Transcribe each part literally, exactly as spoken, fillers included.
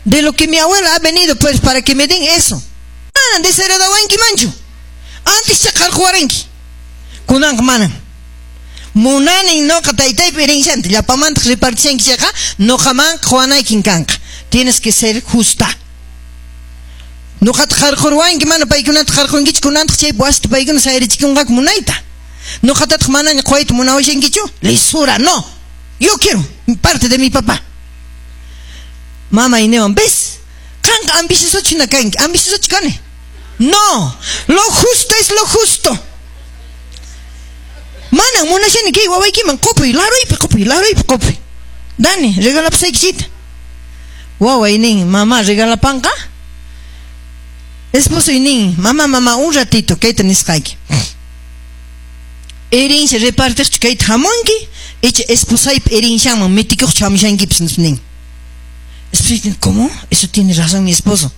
De lo que mi abuela ha venido, pues, para que me den eso. Manan desheredawankimanchu. Antes qarquwaranki. Kunanqa manan. Munanin noqa taytaypa herencianta llapamantaq repartishanki chayqa noqaman quwanaykin kanqa. Tienes que ser justa. Noqata qarqurwanki mana paykunata qarqunkichu kunantaq chay wasita paykuna sayarichikunqaku munayta. Noqatataq manaña quwayta munawashankichu? Lisura, no. Yo quiero parte de mi papá. Mamay niwan, ¿ves? Qanqa ambiciosochu hina kanki, ambiciosochu kani. No, lo justo es lo justo. Manan munashani kay wawaykiman qupuy, laruypi qupuy, laruypi qupuy. Dani, regalapusaykichita. Waway nin, mamá regalapanqa. Esposoy nin, mamá, mamá, un ratito, kayta nisqayki. Herencia repartiqchu kayta hamunki, icha esposaypa herencianman mitikuqchu hamushankipis nin. Esposoy nin, ¿cómo? Eso tiene razón mi esposo.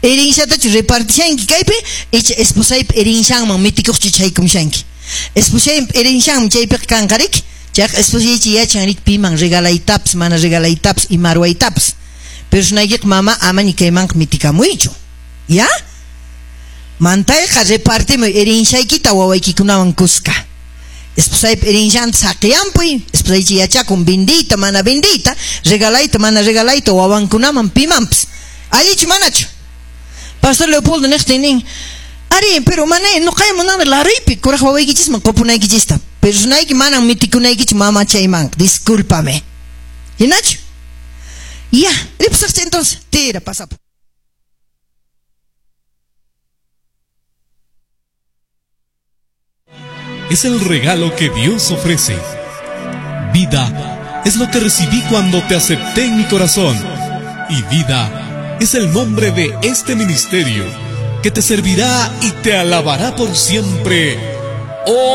Herenciatachu repartishanki kaypi, icha esposaypa herencianman mitikuqchu chaykumushanki. Esposaypa herencianman chaypiqa kanqa riki, chayqa esposaychi yachan riki piman regalaytapas, mana regalaytapas, ima ruwaytapas. Pero sunaykiqa mama amaña kaymanqa mitikamuychu. ¿Ya? Mantayqa repartimuy herenciaykita wawaykikunawan kuska. Esposaypa herencianta saqiyampuy, esposaychi yachakun vendiyta, mana vendiyta, regalayta, mana regalayta wawankunaman pimanpas. Allichu manachu? Pastor Leopoldo niqtin nin, ari, pero mana noqay munani laruypi kuraq wawaykichisman qupunaykichista. Pero sunayki manan mitikunaykichu mama chayman, discúlpame. ¿Hinachu? Ya, ripusaqcha entonces, tira, pasapo. Es el regalo que Dios ofrece. Vida es lo que recibí cuando te acepté en mi corazón. Y vida es el nombre de este ministerio que te servirá y te alabará por siempre. ¡Oh!